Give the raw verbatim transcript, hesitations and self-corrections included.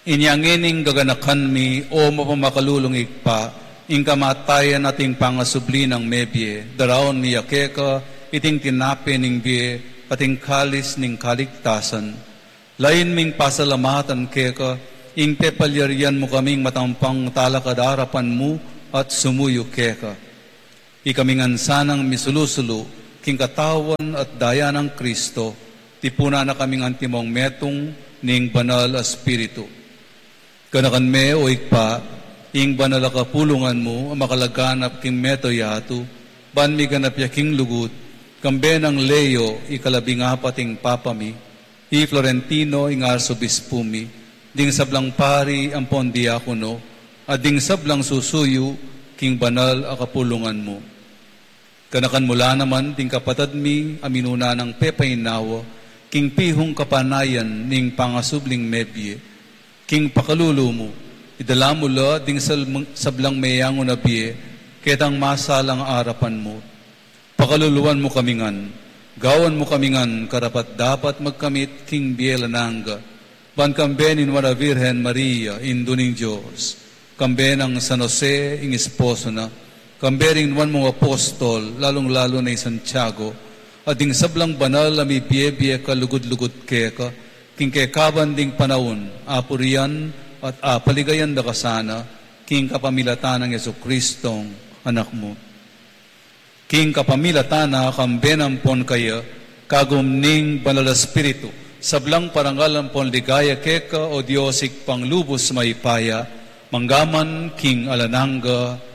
Inya ngeni gaganakan mi, o mapamakalulung Ibpa, ing kamatayan at ing pangasubli nang mebie, daraun mi ya keka iting tinape ning bie at ing kalis ning kaligtasan. Lain ming pasalamatan keka ing pepalyarian mu kaming matampang talakad arapan mu at sumuyu keka. Ikami ngan sanang misulu-sulu king katawan at daya nang Kristo, tipunan na kaming antimong metung ning Banal a Espiritu. Ganakan me, o Ibpa, ing banal a kapulungan mu a makalaganap king mabilug a yatu, ban miganap ya king lugud, kambe nang Leo, ikalabing apat ing Papa mi, i Florentino ing Arsobispu mi, ding sablang pari ampon diakono, at ding sablang susuyu king banal a kapulungan mu. Ganakan mu la naman ding kapatad mi a minuna nang pepainawa king pihung kapanayan ning pangasubling mebie, king pakalulu mu, idala mu la ding sal-, sablang meyangu na bie ketang masalang arapan mu. Pakaluluan mu kami ngan, gawan mu kami ngan karapat-dapat magkamit king bie alang angga, ban kambe ning Nuan a Virgen Maria, Indu ning Dios, kambe nang San Jose, ing esposo na, kambe ring nuan mung apostol, lalung-lalu na i Santiago, at ding sablang banal a mibie-bie kalugud-lugud keka, king kekaban ding panaun, apurian at apaligayan da ka sana, king kapamilatan nang Jesucristong Anak mu. King kapamilatan na, kambe na ampon kaya, kagum ning Banal a Espiritu, sablang parangal ampon ligaya keka, o Dios, Ibpang lubus mayupaya, mangga man king alang angga.